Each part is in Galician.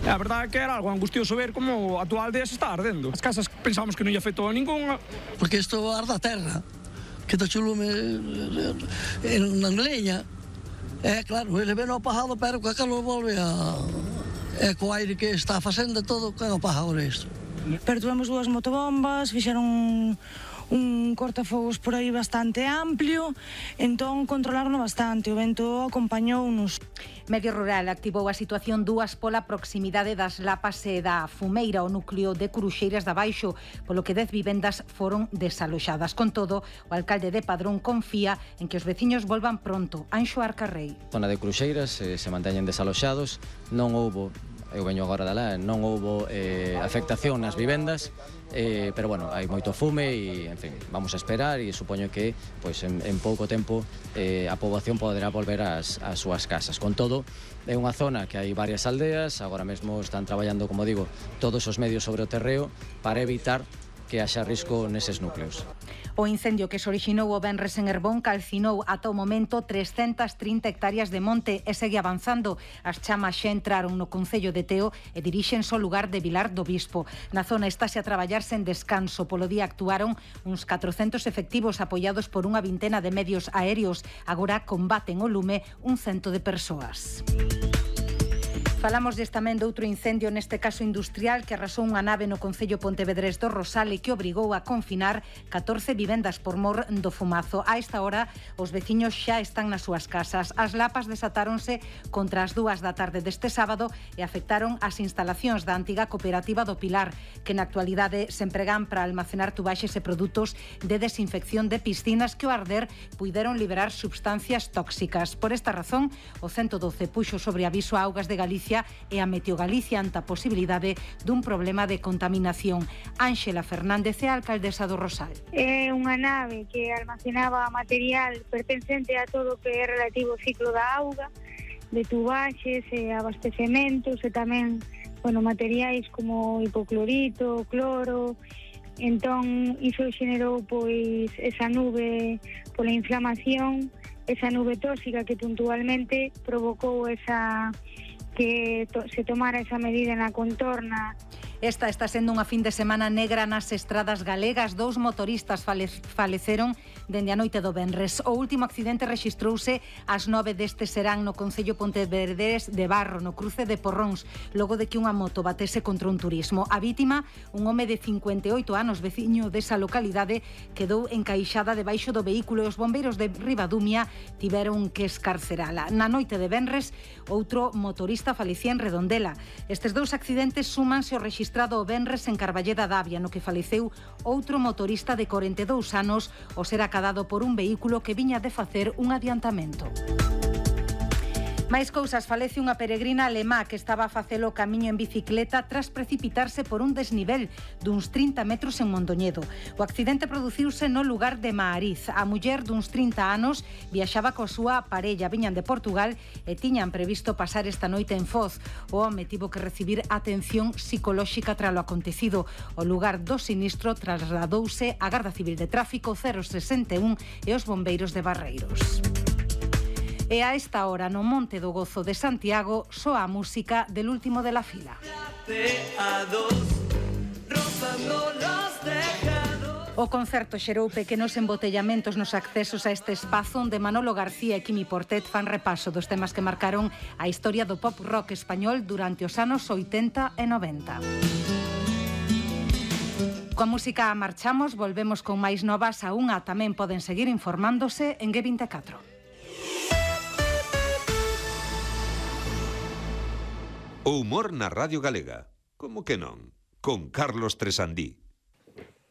A verdade é que era algo angustioso ver como a tua aldea se está ardendo. As casas pensábamos que non lle afectou a ninguna. Porque isto arde a terra, que está chulume na leña. Claro, ele ven o apagado, pero que calor volve a... co aire que está facendo todo, que apaga isto. Pertuamos dúas motobombas, fixeron un cortafogos por aí bastante amplio, entón controlaron bastante, o vento acompañounos. Medio Rural activou a situación 2 pola proximidade das Lapas e da Fumeira, o núcleo de Curuxeiras de Abaixo, polo que 10 vivendas foron desaloxadas. Con todo, o alcalde de Padrón confía en que os veciños volvan pronto. Anxo Arcarrei. Zona de Cruxeiras se manteñen desaloxados, non houbo, eu veño agora de lá, non houbo afectación nas vivendas, pero bueno, hai moito fume e, en fin, vamos a esperar e supoño que pois, en pouco tempo a poboación poderá volver ás súas casas. Con todo, é unha zona que hai varias aldeas, agora mesmo están traballando, como digo, todos os medios sobre o terreo para evitar que haxa risco neses núcleos. O incendio que se orixinou o venres en Herbón calcinou ata o momento 330 hectáreas de monte e segue avanzando. As chamas xa entraron no concello de Teo e dirixense ao lugar de Vilar do Bispo. Na zona estáse a traballar sen descanso. Polo día actuaron uns 400 efectivos apoiados por unha vintena de medios aéreos. Agora combaten o lume un 100 de persoas. Falamos tamén de outro incendio, neste caso industrial, que arrasou unha nave no concello Pontevedrés do Rosal e que obrigou a confinar 14 vivendas por mor do fumazo. A esta hora, os veciños xa están nas súas casas. As lapas desatáronse contra as 2 da tarde deste sábado e afectaron as instalacións da antiga cooperativa do Pilar, que na actualidade se empregan para almacenar tubaxes e produtos de desinfección de piscinas que ao arder puideron liberar substancias tóxicas. Por esta razón, o 112 puxo sobre aviso a Augas de Galicia e a Meteo Galicia ante a posibilidade dun problema de contaminación. Ángela Fernández é a alcaldesa do Rosal. É unha nave que almacenaba material pertencente a todo o que é relativo ao ciclo da auga, de tubaxes e abastecementos e tamén, materiais como hipoclorito, cloro. Entón, iso xenerou pois esa nube pola inflamación, esa nube tóxica que puntualmente provocou que se tomara esa medida na contorna. Esta está sendo unha fin de semana negra nas estradas galegas. 2 motoristas faleceron dende a noite do venres. O último accidente rexistrouse ás 9 deste serán no concello Pontevedrés de Barro, no cruce de Porróns, logo de que unha moto batese contra un turismo. A vítima, un home de 58 anos, veciño desa localidade, quedou encaixada debaixo do vehículo e os bombeiros de Ribadumia tiveron que escarcerala. Na noite de venres, outro motorista falecía en Redondela. Estes 2 accidentes súmanse ao registrado o venres en Carballeda d'Avia, no que faleceu outro motorista de 42 anos ao ser acadado por un vehículo que viña de facer un adiantamento. Máis cousas, falece unha peregrina alemá que estaba a facelo o camiño en bicicleta tras precipitarse por un desnivel duns 30 metros en Mondoñedo. O accidente produciuse no lugar de Maariz. A muller duns 30 anos viaxaba coa súa parella, viñan de Portugal e tiñan previsto pasar esta noite en Foz. O home tivo que recibir atención psicolóxica tras o acontecido. O lugar do sinistro trasladouse a Garda Civil de Tráfico 061 e os bombeiros de Barreiros. E a esta hora no Monte do Gozo de Santiago soa a música del último de la fila. O concerto xerou pequenos embotellamentos nos accesos a este espazo onde Manolo García e Quimi Portet fan repaso dos temas que marcaron a historia do pop rock español durante os anos 80 e 90. Coa música marchamos, volvemos con máis novas a unha. Tamén poden seguir informándose en G24. O humor na Radio Galega. Como que non? Con Carlos Tresandí.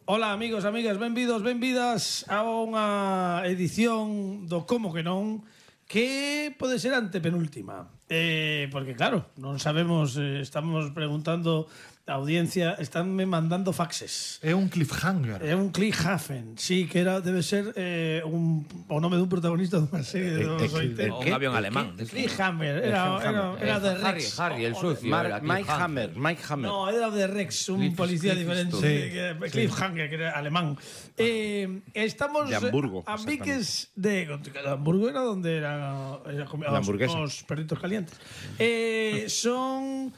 Hola amigos, amigas, benvidas a unha edición do Como que non, que pode ser antepenúltima. Porque claro, non sabemos, estamos preguntando a audiencia, estánme mandando faxes. É un cliffhanger. É un cliffhanger, sí, que debe ser o nome dun protagonista dunha serie de 80. Un avión alemán. Cliffhanger, era de Rex. Harry, el sucio. Mike Hammer. No, era de Rex, un policía diferente. Cliffhanger, que era alemán. Estamos de Hamburgo. A Viques de Hamburgo era donde eran os perritos calientes. Son